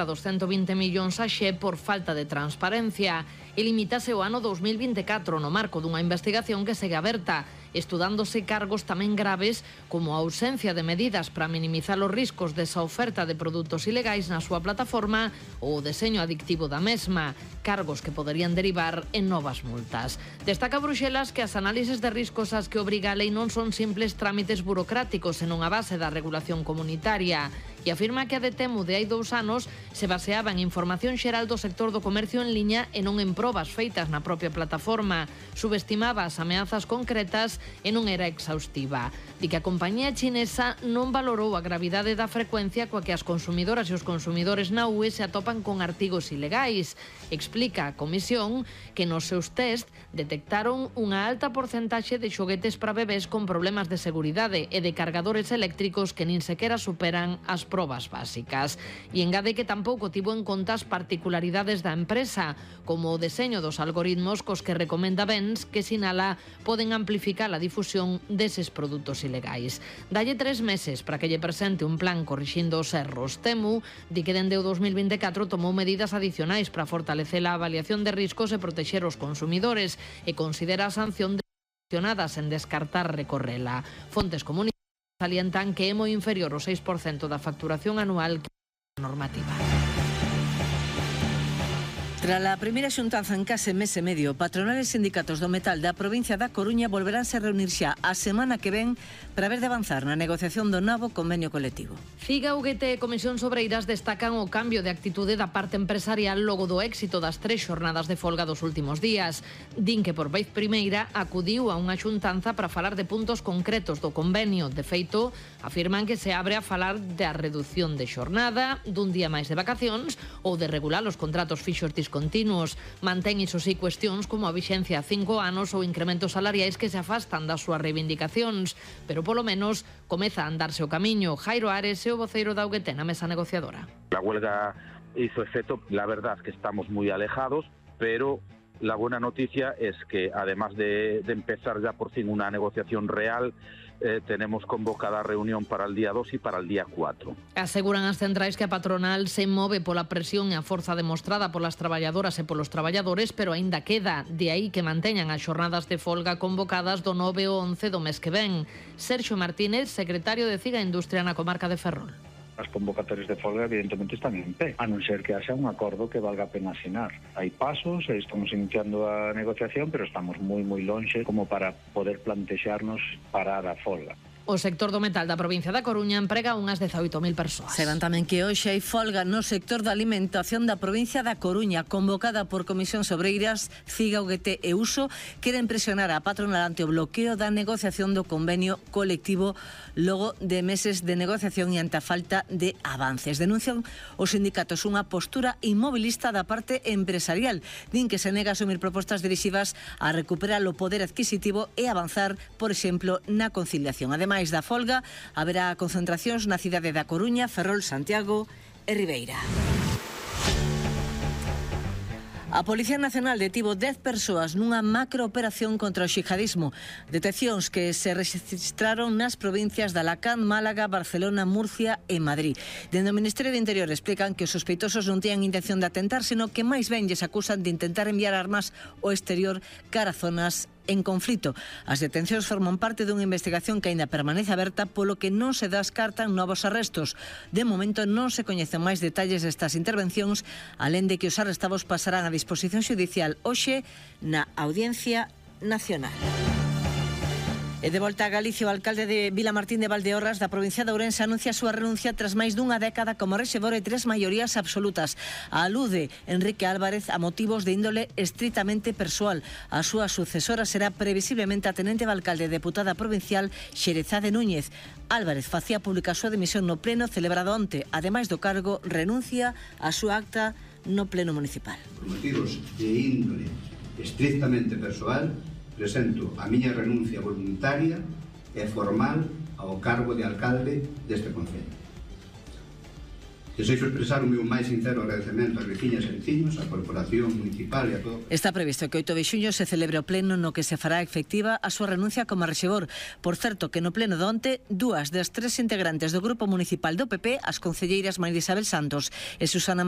dos 120 millóns a Xe por falta de transparencia e limítase o ano 2024 no marco dunha investigación que segue aberta, estudándose cargos tamén graves como a ausencia de medidas para minimizar os riscos desa oferta de produtos ilegais na súa plataforma ou o deseño adictivo da mesma, cargos que poderían derivar en novas multas. Destaca Bruxelas que as análises de riscos ás que obriga a lei non son simples trámites burocráticos senón a base da regulación comunitaria e afirma que a Detemu de hai 2 anos se baseaba en información xeral do sector do comercio en liña e non en probas feitas na propia plataforma. Subestimaba as ameazas concretas e non era exhaustiva. Di que a compañía chinesa non valorou a gravidade da frecuencia coa que as consumidoras e os consumidores na UE se atopan con artigos ilegais. Explica a Comisión que nos seus test detectaron unha alta porcentaxe de xoguetes para bebés con problemas de seguridade e de cargadores eléctricos que nin sequera superan as probas básicas. E engade que tampouco tivo en conta as particularidades da empresa, como o deseño dos algoritmos cos que recomenda bens que sinala poden amplificar a difusión deses produtos ilegais. Dalle 3 meses para que lle presente un plan corrixindo os erros. Temu di que dende o 2024 tomou medidas adicionais para fortalecer a avaliación de riscos e protexer os consumidores e considera a sanción de sancionadas en descartar recorrela. Fontes comunitarias salientan que é moi inferior ao 6% da facturación anual que é a normativa. Tras a primeira xuntanza en case mes e medio, patronales e sindicatos do metal da provincia da Coruña volveránse a reunir xa a semana que ven para ver de avanzar na negociación do novo convenio colectivo. CIGA, UGT e Comisións Obreiras destacan o cambio de actitude da parte empresarial logo do éxito das 3 xornadas de folga dos últimos días. Din que por vez primeira acudiu a unha xuntanza para falar de puntos concretos do convenio. De feito, afirman que se abre a falar da reducción de xornada, dun día máis de vacacións ou de regular os contratos fixos discontinuos. Mantén iso sí cuestións como a vixencia a 5 anos ou incrementos salariais que se afastan das súas reivindicacións, pero polo menos comeza a andarse o camiño. Jairo Ares é o voceiro da UGT na mesa negociadora. La huelga hizo efecto, la verdad que estamos muy alejados, pero la buena noticia es que además de empezar ya por fin una negociación real, tenemos convocada reunión para el día 2 y para el día 4. Aseguran as centrais que a patronal se move pola presión e a forza demostrada polas traballadoras e polos traballadores, pero aínda queda, de aí que manteñan as xornadas de folga convocadas do 9 ao 11 do mes que ven. Sergio Martínez, secretario de CIGA Industria na comarca de Ferrol. As convocatorias de folga evidentemente están en pé, a non ser que haxa un acordo que valga a pena asinar. Hai pasos, estamos iniciando a negociación, pero estamos moi lonxe como para poder plantexarnos parar a folga. O sector do metal da provincia da Coruña emprega unhas 18.000 persoas. Saben tamén que hoxe hai folga no sector da alimentación da provincia da Coruña, convocada por Comisións Obreiras, CIGA, UGT e USO, queren presionar a patronal ante o bloqueo da negociación do convenio colectivo logo de meses de negociación e ante a falta de avances. Denuncian os sindicatos unha postura inmobilista da parte empresarial. Din que se nega a asumir propostas dirixidas a recuperar o poder adquisitivo e avanzar, por exemplo, na conciliación. Ademais da folga, haberá concentracións na cidade da Coruña, Ferrol, Santiago e Ribeira. A Policía Nacional detivo 10 persoas nunha macrooperación contra o xihadismo. Detencións que se registraron nas provincias de Alacant, Málaga, Barcelona, Murcia e Madrid. Dende o Ministerio de Interior explican que os sospeitosos non tiñan intención de atentar, sino que máis ben lles acusan de intentar enviar armas ao exterior cara a zonas en conflito. As detencións forman parte dunha investigación que aínda permanece aberta, polo que non se descartan novos arrestos. De momento non se coñecen máis detalles destas intervencións, alén de que os arrestados pasarán a disposición xudicial hoxe na Audiencia Nacional. E de volta a Galicia, o alcalde de Vilamartín de Valdeorras da provincia de Ourense anuncia a súa renuncia tras máis dunha década como rexedor e 3 maiorías absolutas. Alude Enrique Álvarez a motivos de índole estritamente persoal. A súa sucesora será previsiblemente a tenente de alcalde e deputada provincial Xerezade Núñez. Álvarez facía pública a súa dimisión no pleno celebrado onte. Ademais do cargo, renuncia a súa acta no pleno municipal. Por motivos de índole estrictamente persoal, presento a miña renuncia voluntaria e formal ao cargo de alcalde deste concello. Desexo expresar o meu máis sincero agradecemento ás veciñas e veciños, á Corporación Municipal e a todo. Está previsto que 8 de xuño se celebre o pleno no que se fará efectiva a súa renuncia como rexedor. Por certo, que no pleno de onte, 2 das 3 integrantes do Grupo Municipal do PP, as concelleiras María Isabel Santos e Susana María